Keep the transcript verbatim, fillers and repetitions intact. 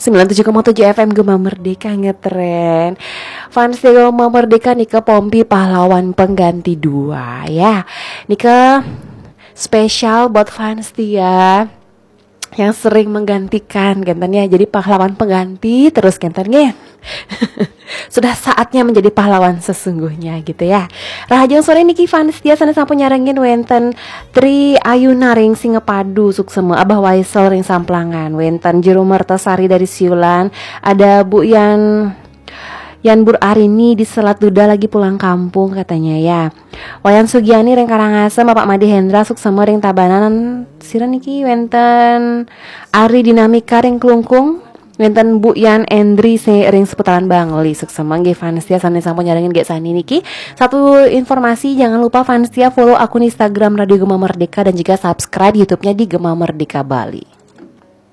sembilan tujuh koma tujuh F M Gema Merdeka ngetren. Fans Gema Merdeka, nika Pompi pahlawan pengganti dua ya. Nika spesial buat fans setia yang sering menggantikan, genten ya. Jadi pahlawan pengganti terus, genten nggih. Sudah saatnya menjadi pahlawan sesungguhnya gitu ya. Rahajeng sore niki fans setia sané sampun nyarengin, wénten Tri Ayu Naring Singapadu, suksema, Abah Waisel ring Samplangan, wénten Jero Mertasari dari Siulan, ada Bu Yan Yan Bur Arini di Selat Duda lagi pulang kampung katanya ya. Wayan Sugiani ring Karangasem, Bapak Made Hendra suksema ring Tabanan, sira niki wénten Ari Dinamika ring Klungkung, wénten Bu Yan Endri se ring seputaran Bangli, suksema nggih fans setia sané sampun nyarengin gek sani niki. Satu informasi, jangan lupa fans setia follow akun Instagram Radio Gema Merdeka dan juga subscribe YouTube-nya di Gema Merdeka Bali.